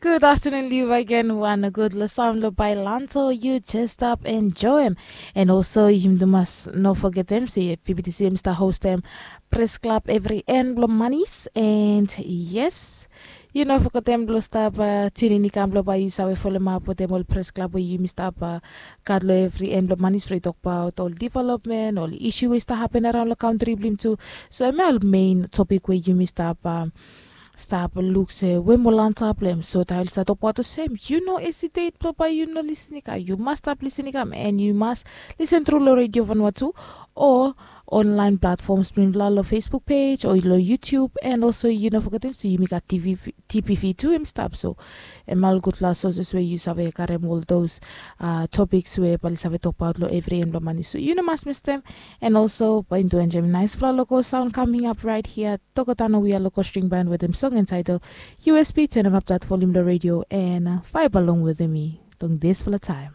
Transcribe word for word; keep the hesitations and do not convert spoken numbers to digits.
Good afternoon, Liu, again. Wan gud long saun blong Bailanto yu jes stap enjoem. And also yumi tu mas no fogetem se V B T C em stap hostem Press Club evri en blong manis. And yes, yu no fogetem blong stap tunin i kam blong bae yu save folomap wetem ol Press Club we yumi stap gat long evri en blong manis, blong i tokbaot ol development, ol isu we i stap hapen araon long kantri blong yumi tu. So em ya ol mein topik we yumi stap stap luk se we moa antap long em. So tael i stap tokbaot olsem yu no esitet blong bae yu no lisin i kam, yu mas stap lisin i kam, and yu mas lisen tru long Radio Vanuatu o online platforms blong yumi long Facebook page o long YouTube. And also yu no fogetem se yumi gat T V, T P V tu em stap. So em ol gudfala sources we yu save karem ol those topics we bae i save tokbaot long evri en blong manis. So yu no mas mistem. And also bae yumi tu enjoem naesfala local sound coming up right here. Tokotano, we are local string band wetem song entitled U S B. Turn up that volume long radio and vibe along wetem mi long disfala taem.